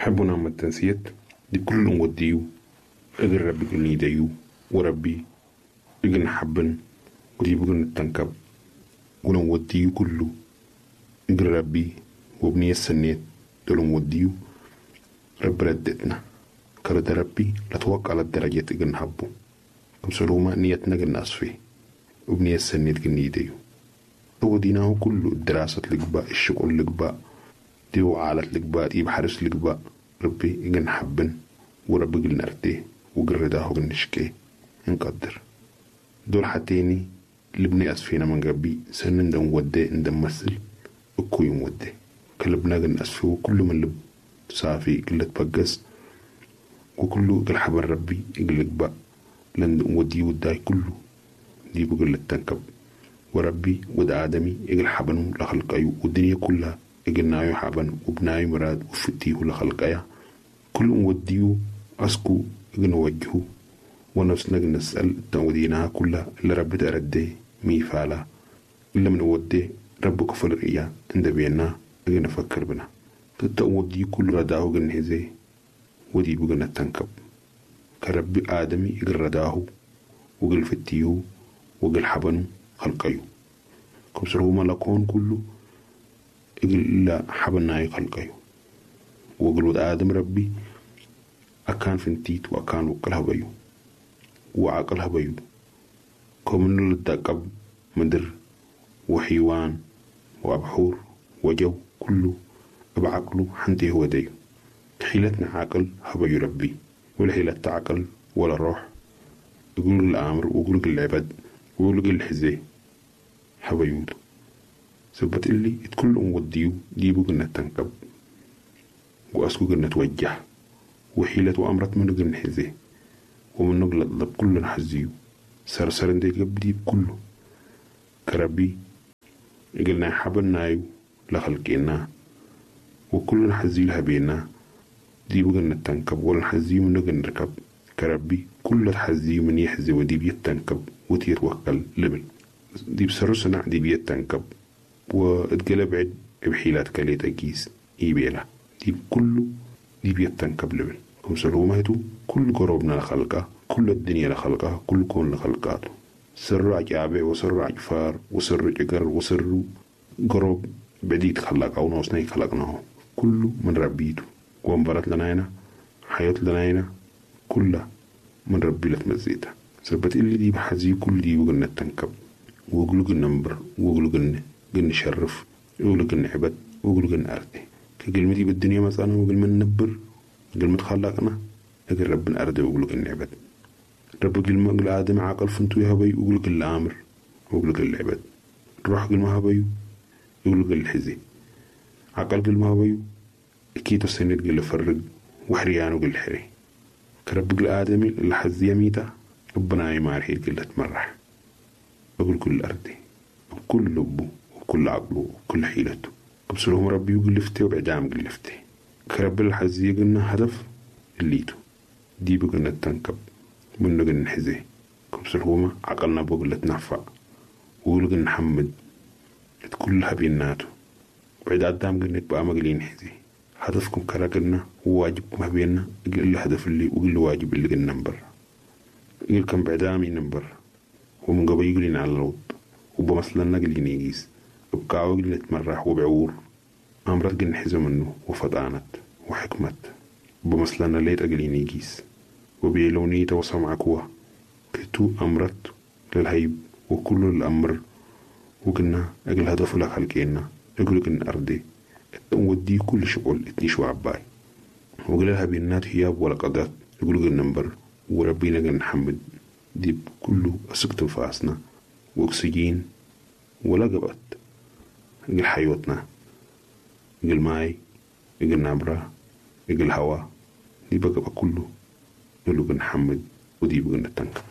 حبنا متنسيت دي كل وديو اقل ربي قلني ديو وربي اقل حبن ودي بقل التنكب ولن كله اقل ربي وبني السنيت دولن وديو رب ردتنا كرد ربي لتوقع للدرجة اقل نحبو كمسلوما نيتنا قل أصفي وبني السنيت قلني ديو وديناه كله الدراسة لقبا الشغل لقبا ديو عالت لقبا دي بحرس لقبا ربي اقل حبن وربي قل نرتيه وقل رداه قل نشكي نقدر دول حتيني لبني أسفينا من قبي سنن دم ودي ندم مثل اكو يوم ودي كلبنا قل أسفي وكل من لب صافي قلت بقس وكله قل حبر ربي قل قبا لن ودي وداي كله دي بقل التنكب وربي ود آدمي إقل حبنو لخلقايو والدنيا كلها إقل نايو حبن وبنايو مراد وفتيه لخلقايا كل وديو أسكو إقل نوجهو ونفسنا نسأل توديناها كلها اللي ربي تردي ميفالا إلا من ودي رب كفل رئيا عند بينا إقل نفكر بنا تتودي كل رداه قل ودي بقنا تنكب كربي آدمي إقل رداه وقل فتيه وقل حبنو خلقيو كمسر هو ملكون كله إقل إلا حبناي خلقيو وقل ود آدم ربي أكان فنتيت وأكان وقلها بيو وعقلها بيو كمن للدقب مدر وحيوان وأبحور وجو كله بعقله حنتي هو ديو حيلتنا عقل هبيو ربي ولا حيلة عقل ولا روح يقول الأمر ويقول العباد ويقول الحزي حبيود سبت اللي اتكل وديو ديبو قلنا تنكب وأسكو قلنا توجه وحيلة وأمرت من قلنا حزي ومن نقل الضب كل حزيو سرسر دي قبدي كله كربي قلنا حبلنايو لخلقنا وكل حزي لها بينا ديبو قلنا تنكب ولا حزيو من نقل نركب كربي كل حزي من يحزي ودي بيتنكب وتيتوكل لبل دي بسرسنا دي بيتنكب واتقلب عد بحيلات كليت أجيس إيبيلا دي كله دي بيتنكب لبل كمسلوماتو كل قروبنا لخلقه كل الدنيا لخلقه كل كون لخلقاته سر عجابع وسر عجفار وسر جقر وسر قروب بعديد خلق أو نوصني خلقناه كله من ربيته وانبرت لنا هنا حياة لنا هنا كلها من ربي لتمزيته سبت اللي دي بحزي كل دي وقلنا تنكب وقلو قلنا نبر وقلو قلنا قلنا شرف وقلو قلنا عبد وقلو قلنا أرضي كقلمتي بالدنيا مثلا وقل من نبر قل متخلقنا أقل ربنا أرضي وقلو قلنا عبد رب قل ما قل آدم عاقل فنتو يا هبي وقلو قل آمر وقلو قل عبد روح قل ما هبيو وقلو قل حزي عقل قل ما هبيو أكيد السند قل فرق وحريان وقل حري كرب قل آدمي اللي حزي ميتا ربنا يمارحي قل تمرح أقول كل أرضي وكل لبه وكل عقله وكل حيلته قبسلهم ربي وقلفتي وبعدام قلفتي كرب الحزي قلنا هدف الليتو دي بقلنا التنكب منو قلنا حزي قبسلهما عقلنا بقلة نفع وقل قلنا حمد كلها بيناتو بعد عدام قلنا بقى مقلين حزي هدفكم كرا قلنا وواجبكم هبينا قل الهدف اللي وقل الواجب اللي قلنا نبر قل كم بعدامي نبر ومن قبل يقولين على الوط وبمثلنا قلين يقيس بقاو قلنا تمرح وبعور أمرت قلنا حزو منه وفطانت وحكمت بمثلنا ليت أقلين يقيس وبيلوني وسمعكوا كتو أمرت للهيب وكل الأمر وقلنا أقل هدف لك خلقينا أقول قلنا أرضي ودي كل شغل اتنيش وعباي وقال بينات هياب ولا قدرت يقول قلنا نمبر وربينا قلنا نحمد دي كله أسكت فاسنا وأكسجين ولا قبت قل حيوتنا قل ماي قل نبرة قل هوا دي بقى كله يقولوا قلنا نحمد ودي بقى نتنكب.